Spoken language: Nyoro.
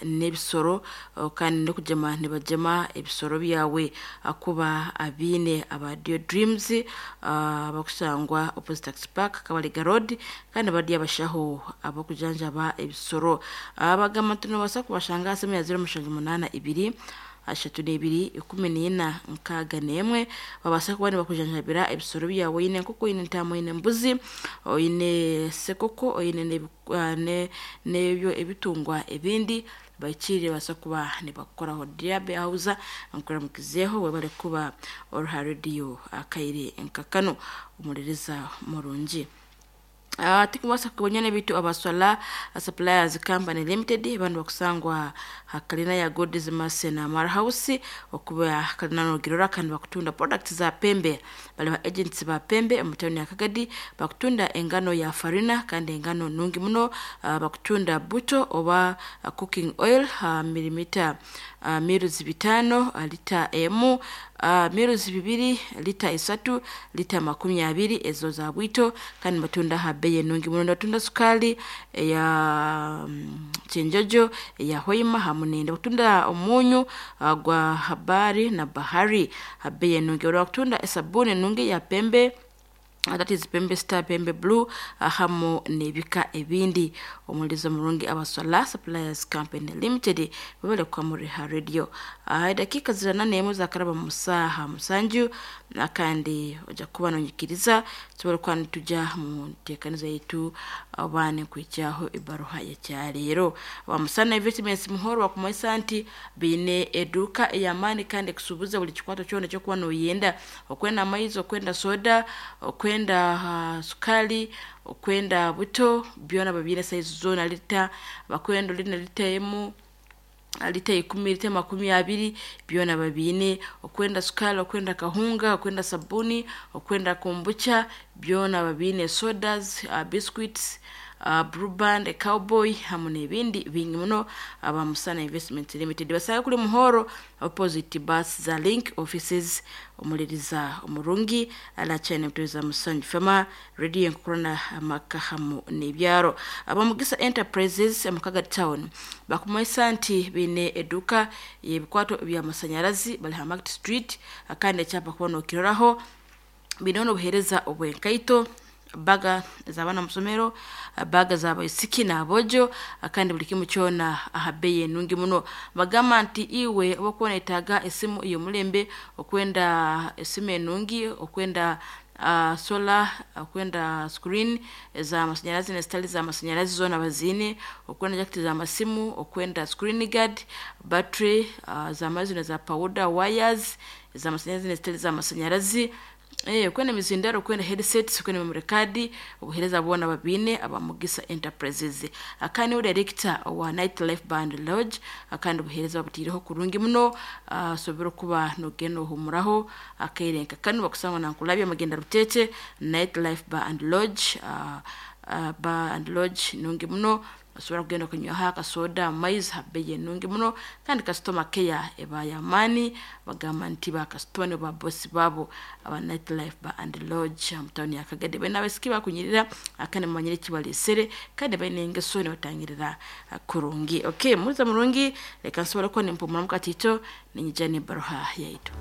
n'ebisoro kandi n'okugema nibagema ebisoro byawe akuba abiine aba Dio Dreams abakusangwa opposite Taxi Park, Kabalega Road, kandi bari abashaho abakujanjaba ebisoro. Abagamba nti nobaasa kubashanga aha simu ya 0782 32 14 61. Babaasa kuba nibakujanjabira ebisoro byawe. Oine enkoko, oine entaama, oine embuzi, oine sekoko, oine n'ebyo ebitungwa ebindi bahikire babaasa kuba nibakukoraho. Diabe Hausa, nkuramukizeeho, webale kuba ori ha rediyo akaire nka kanu, omuririza murungi. Tikubaasa kubonya ebintu abaswala Suppliers Company Limited, banu bakusangwa hakalina ya God's Mercy na Mara House okuba kalina nogirora, kandi bakutunda products za pembe. Bali ba agents ba pembe mu town ya Kagadi. Bakutunda engano ya farina kandi engano nungi muno. Bakutunda buto oba cooking oil, milimita miruzi 5 lita 1, miruzi 2 lita 3, lita 20 ezo za bwito, kandi batunda ha bei enungi muno. Batunda sukali eya kyenjojo, eya hoima hamu nende batunda omunyu gwa habari na bahari ha bei enungi. Bakutunda esabuni enungi ya pembe, that is Pembe Star, Pembe Blue, hamu n'ebika ebindi. Omulizo murungi, abaswala Suppliers Company Limited, babale kwamuri ha radio. Dakika 41 zakaraba mu saha 7, kandi ojja kuba nonyikiriza tusobole kuba nituja mu nteekaniza yaitu oba nikwijyaho ebaruha yekyaleero. Bamusana Investments muhoro bakumanyisa nti biine eduuka ey'amaani kandi ekusuubuza buli kikwato kyona ekyokuba noyenda: okwenda amaizi, okwenda soda, okwenda sukali, okwenda buto, byona babiine, saizi zoona, lita bakwenda olina lita 1, lita 10, lita 20, byona babiine. Okwenda sukali, okwenda kahunga, okwenda sabuni, okwenda kombucha, byona babiine, sodas, biscuits, Blue Band, Cowboy hamu n'ebindi bingi muno. Aba Musana Investment Limited basanga kuli Muhoro opposite bus za Link offices. Omuliriza omurungi alachane mutweza Musanju Fema radio enkukurana amaka hamu n'ebyaro. Abamugisa Enterprises mukaga town bakumanyisa nti biine eduuka y'ebikwato by'amasanyarazi, bali ha Market Street, kandi ekyapa kuba nokiroraho. Biine n'obuheereza obw'enkaito, baga z'abaana musomero, baga z'abaisiki n'abojo, kandi buli kimu kyona aha bei enungi muno. Bagamba nti iwe oba okuba noyetaaga esimu ey'omulembe, okwenda esimu enungi, okwenda solar, okwenda screen ez'amasanyarazi n'ezitali z'amasanyarazi, zoona baziine, okwenda jaketi z'amasimu, okwenda screen guard, battery z'amaizi n'eza powder, wires ez'amasanyarazi n'ezitali z'amasanyarazi, okwenda emizindaro, okwenda headsets, okwenda memory card, obuheereza bwona babiine aba Mugisa Enterprises. Akandi niwe director wa Night Life Band Lodge, kandi obuheereza babutiireho kurungi muno. Osobora okuba nogenda ohumuraho akaire nka kanu. Bakusangwa Nankulabye, Magenda Ruteete, Night Life Bar and Lodge. Bar and Lodge nungi muno, osobola kugenda okanywaho akasoda, amaizi ha bei enungi muno, kandi customer care eba y'amaani. Bagamba nti bakasitoma nibo babosi baabo aba Night Life Bar and Lodge mu tawuni ya Kagadi. Baine abaisiki bakunyirira kandi mumanyire ekibaleesere, kandi baine engeso nibatangirira kurungi. Okay, muliza murungi, leka nsobole kuba nimpumuramu katiito, ninyija n'ebaruha yaitu.